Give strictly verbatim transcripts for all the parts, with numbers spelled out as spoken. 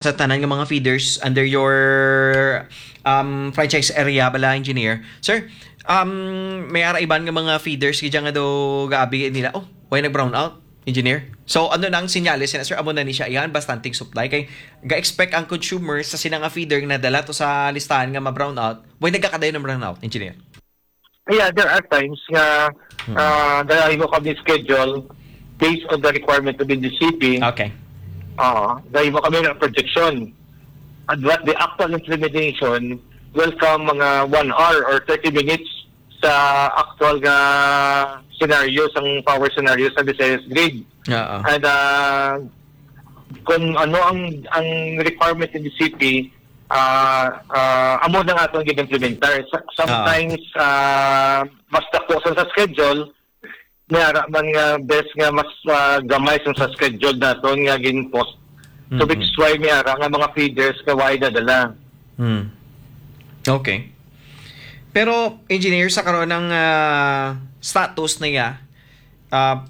sa tanan nga mga feeders under your, um, franchise area bala, engineer. Sir, um, may ara iban nga mga feeders gid nga do gaabi nila. Oh, way nag-brown out, engineer. So, ano na ang sinyales na, sir? Amo na ni siya iyan, bastanteng supply. Kay ga-expect ang consumer sa sina nga feeder nga nadala to sa listahan nga ma-brown out. Way nagkakadayon ng brown out, engineer? Yeah, there are times nga, hmm, uh, dahil mo kami schedule based on the requirement of the G C P. Okay. Uh, dahil mo kami ng projection. And what the actual implementation will come mga one hour or thirty minutes sa actual nga scenario, sang power scenario sa Visayas grid. Oo. And uh, kung ano ang ang requirement ng G C P, ah, ah, amo na nga atong gid-implementar. Sa- Sometimes, ah, mas dako sa, sa schedule, may ara man nga best nga mas, ah, gamay sa, sa schedule naton nga gin-post. So, which is why may ara nga mga feeders nga why dadala. Hmm. Okay. Pero, engineer, sa karon ang, ah, status na iya, ah,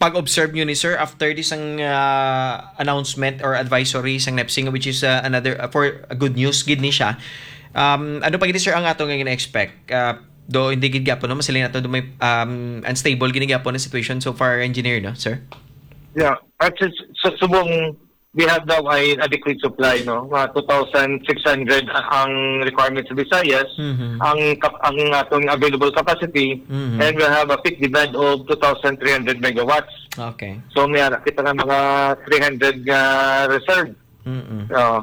pag-observe nyo ni sir after this ang, ah, announcement or advisory sang nepsing, which is, ah, another, ah, for a good news gid ni siya. Um, ano pa gid, sir, ang ato nga gina-expect? Ah, do hindi gid gyapon, no, masiling nato do may, um, unstable gid gyapon ang situation so far, engineer, no, sir? Yeah, at sa, sa subong we have now an adequate supply, no? Mga two thousand six hundred ang requirement sa Visayas, Mhm. ang kap- ang atong available capacity, Mhm. and we have a peak demand of two thousand three hundred megawatts. Okay. So, may ara kita nga mga three hundred nga reserve. Mm-mm. Oo.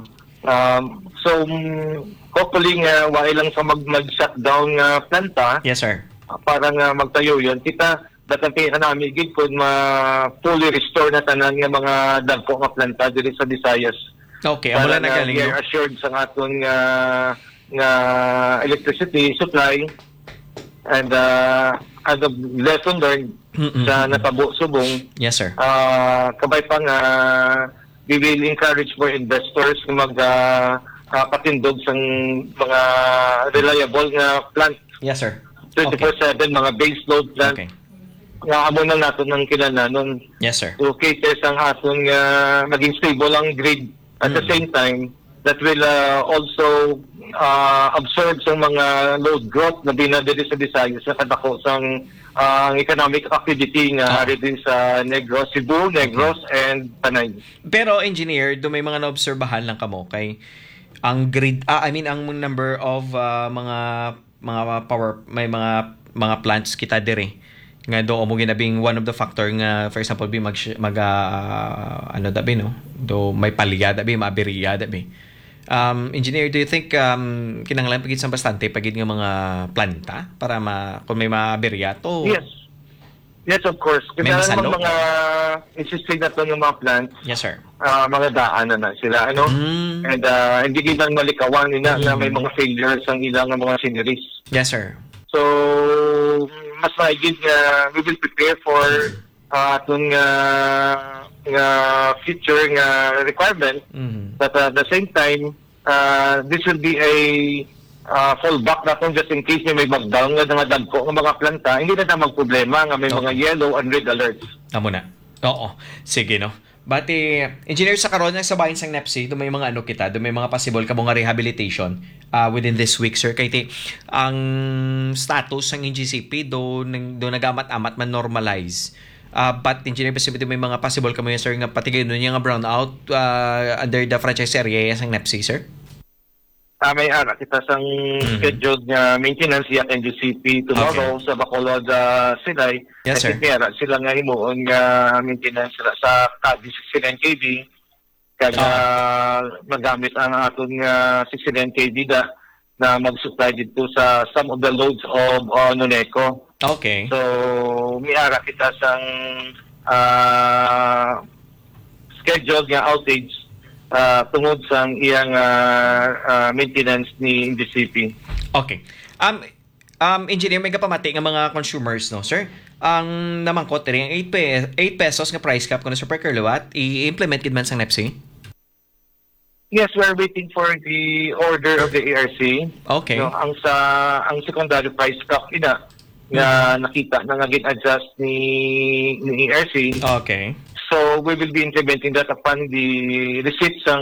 Um, so, mm, hopefully nga wala lang sa mag mag-shutdown nga planta. Yes, sir. Para nga magtayo yun. Kita, datang kay nami gid kung ma fully restore na tanan nga mga dagko nga planta diri sa Visayas. Okay, amo lang na galing, no? Assured sa aton nga, nga electricity supply and, uh, as a lesson learned sa natabo subong. Yes, sir. Uh, kabay pa nga we will encourage more investors nga mag, uh, uh, patindog sang mga reliable nga plant. Yes, sir. Twenty-four seven, mga base load plant. Okay. Nga amo na naton ang kinahanglanon. Yes, sir. To cater sang aton nga maging stable ang grid. At the same time, that will, uh, also, uh, absorb sa mga load growth na bina diri sa Visayas sa kadako sang, uh, ang economic activity nga ari din sa Negros, Cebu, Negros, and Panay. Pero, engineer, do may mga naobserbahan lang kamo kay ang grid, ah, I mean, ang number of, ah, mga mga power, may mga mga plants kita diri nga do mo ginabing one of the factor nga, for example, bi mag mag ah, ano dabi, no, do may palya dabi, maaberya dabi. Um, engineer, do you think, um, kinahanglan pa gid sang bastante pa gid nga mga planta para ma kung may maaberya to? Yes. Yes, of course. May masalo? Mga existing na to ng mga plants. Yes, sir. Ah, mga daan na na sila, ano? Mm. And, ah, hindi gid lang malikawan nila na may mga failures ang ilang mga machineries. Yes, sir. So, mas maigid nga we will prepare for, ah, aton nga, nga future nga requirement. Mhm. But, ah, at the same time, ah, this will be a, ah, fallback naton just in case may magdown nga mga dagko nga mga planta. Hindi na ta magproblema nga may mga yellow and red alerts. Amo na. Oo. Sige, no? Bati, engineer, sa karon nga sa bahin sang nepsi, do may mga ano kita, do may mga possible kamo nga rehabilitation, ah, within this week, sir. Kay ti, ang status sang N G C P do, nang- do nagamat-amat man normalize. Ah, but engineer, basta may mga possible kamo yan, sir, nga patigayon niya nga brownout, ah, under the franchise area sang nepsi, sir? Ah, may ara kita sang scheduled nga maintenance sa N G C P tomorrow sa Bacolod, ah, Silay. Yes, sir. May ara sila nga himuon nga maintenance sila sa Cadiz sixty-nine K V. Kag, ah, magamit ang aton nga sixty-nine K V da na mag-supply dito sa some of the loads of, ah, Noneco. Okay. So, may ara kita sang, ah, scheduled nga outage, ah, tungod sang iyang, ah, ah, maintenance ni N G C P. Okay. Um, um, engineer, may kapamati nga mga consumers, no, sir? Ang namangkot diri, ang eight pe-, eight pesos nga price cap kuno, sir, per kilowatt, i-implement gid man sang nepsi? Yes, we're waiting for the order of the A R C. Okay. No, ang sa, ang secondary price cap ina nga nakita na nga gin-adjust ni, ni A R C. Okay. So we will be implementing that upon the receipt sang